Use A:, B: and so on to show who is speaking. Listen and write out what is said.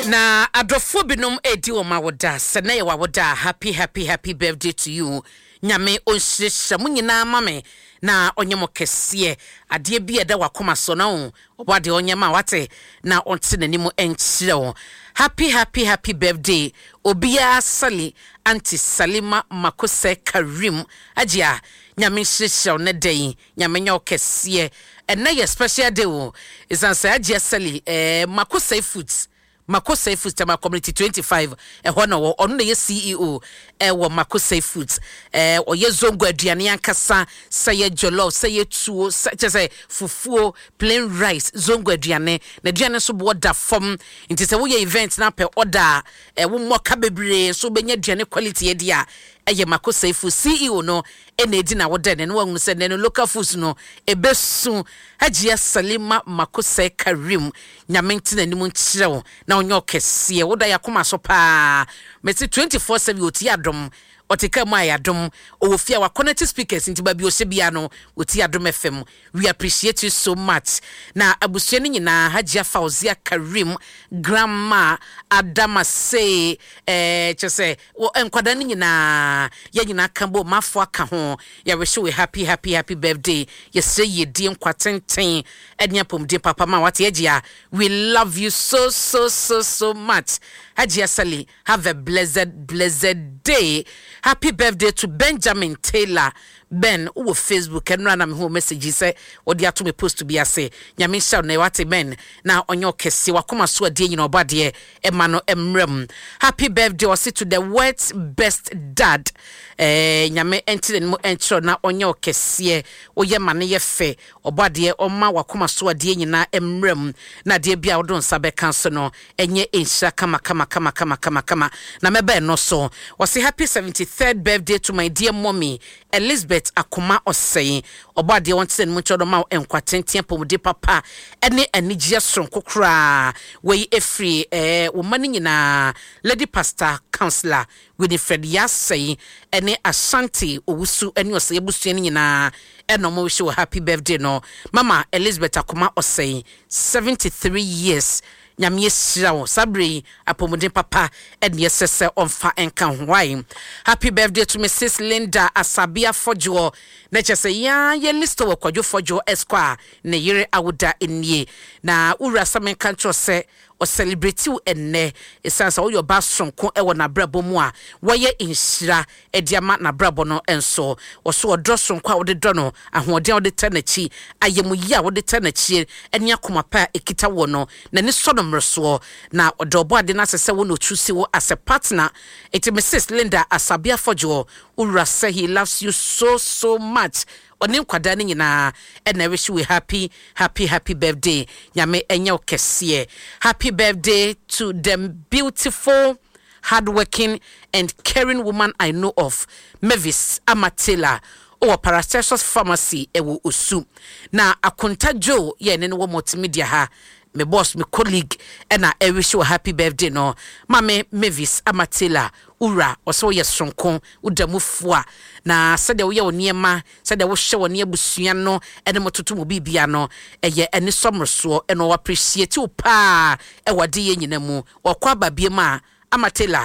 A: Na adɔfoɔ binom edi wɔn awoda sɛ na yɛ wɔ awoda. Happy, happy, happy birthday to you. Nyame ɔnhyirahyira mo nyinaa ma me na ɔnyɛ mo kɛseɛ. Adeɛ bi a ɛda wakoma so na o ɔbɔ adeɛ ɔnyɛ ma wate na ɔnte n'anim nkyerɛ wo. Happy, happy, happy birthday obiara. Sali Aunty Salima Makosɛ Karim agye a, Nyame nhyirahyira wo ne da yi. Nyame nyɛ wo kɛseɛ. Ɛnɛ yɛ special day o, ɛsiane sɛ Agye Sali Makosɛ Foods, Makosai Foods, Tema Community 25 ɛhɔ na wɔ. Ɔno na yɛ CEO ɛwɔ Makosai Foods. Ɔyɛ zongo aduane ankasa, sɛ yɛ jollof, sɛ yɛ tuo, sɛ kyɛ sɛ fufuo, plain rice, zongo aduane. Na aduane nso boɔ da fam, nti sɛ woyɛ event na pɛ ɔda a ɛwo mmɔka bebree nso wobɛnya aduane quality adi a, ɛyɛ Makosai Foods CEO no ɛna edi na wɔda ne no. Wɔn sɛ nɛno local foods no ebesu. Hajiya Salima Makosai Karim, Nyame nti n'anim nkyerɛ wo na ɔnyɛ ɔkɛseɛ. Woda yɛ akoma so paa. Mɛsi 24/7 ɔti Adom, ɔte kaa mu a yɛ Adom, ɔwɔ fie a wakɔnɛte speakers, nti baabi ɔhyɛ bia no ɔti Adom FM. We appreciate you so much. Na abusua no nyinaa, Hajiya Fauzia Karim, Grandma Adama sei, kyɛ sɛ nkwadaa no nyinaa, yɛn nyinaa ka bɔ mafo aka ho, yɛwish we happy, happy, happy birthday. Yɛsrɛ yiedie, nkwa tenten ɛne apɔmuden papa ma wate. Agye a, we love you so, so, so, so much. Hajiya Sali, have a blessed, blessed day. Happy birthday to Benjamin Taylor. Ben wowɔ Facebook, ɛnora na mehu message sɛ wɔde ato me post bi ase. Nyame nhyɛ wo na wate, Ben, na ɔnyɛ ɔkɛseɛ. Wakoma so adeɛ nyina, ɔbɔ adeɛ ɛma no mmerɛ mu. Happy birthday ɔse to the world's best dad. Nyame ɛnte n'anim ɛnkyerɛw na ɔnyɛ ɔkɛseɛ. Woyɛ ma no yɛ fɛ. Ɔbɔ adeɛ ɔma wakoma so adeɛ nyinaa mmerɛ mu, na adeɛ bi a wode nsa bɛka so no ɛnyɛ nhyira kama kama kama kama kama kama. Na mɛbɛn no so, wɔse happy 73rd birthday to my dear mommy Elizabeth Akoma Ɔsɛe. Ɔbɔ adeɛ wɔn tena ne mu nkyɛn ma wo nkwa tenten, apɔmuden papa ɛne anigyeɛ soronko koraa. Wɔyi efiri wɔn mma no nyinaa, Lady Pastor Councillor Winifred Yasɛe ɛne Ashanti Owusu ɛne Ɔsɛe abusua no nyinaa ɛna wɔn wish wɔ happy birthday no. Mama Elizabeth Akoma Ɔsɛe, 73 years, Nyame ahyira wo. Saa berɛ yi apɔmuden papa ɛne ɛsɛ sɛ ɔmfa nka ho wae. Happy birthday to Mrs Linda Asabea Fɔdwoɔ, na kyerɛ sɛ yɛa yɛ list wɔ Kwadwo Fɔdwoɔ Esquire ne yere awoda nie. Na wowura sɛ menka nkyerɛ sɛ ɔcelebrate wo ɛnnɛ, ɛsiane sɛ woyɛ ɔbaa soronko ɛwɔ n'abrabɔ mu a wɔyɛ nhyira ɛde ama n'abrabɔ no nso. Wɔso ɔdɔ soronko a wode dɔ no, ahoɔden a wode tɛ n'akyi, ayɛmuyi a wode tɛ n'akyi, ɛne akoma pa a ɛkita wɔ no, n'ani sɔ no mmerɛsoɔ, na ɔdɔ ɔbɔ ade no asɛ sɛ wo na ɔtu si wo as a partner. Enti Mrs Linda Asabea Fɔdwoɔ, wowura sɛ he loves you so, so much. Ɔne nkwadaa no nyinaa ɛna ɛwish we happy, happy, happy birthday. Nyame ɛnyɛ wo kɛseɛ. Happy birthday to the beautiful, hardworking and caring woman I know of, Mavis Amatela, ɔwɔ Paracelsus Pharmacy ɛwɔ Osu. Na Akonta Joe yɛ ne no wɔ multimedia ha, me boss, me colleague, ɛna ɛwish wɔ happy birthday no. Maame Mavis Amatela, wura ɔsɛ woyɛ soronko, woda mu foa na sɛdeɛ woyɛ wo nneɛma, sɛdeɛ wohyɛ wɔ ne abusua no ɛne mo toto mu biribia no, ɛyɛ ɛne sɔmmorosoɔ. Ɛna ɔwɔ appreciate wo paa ɛwɔ adeyɛ nyina mu. Ɔkɔ aba biem a Amatela.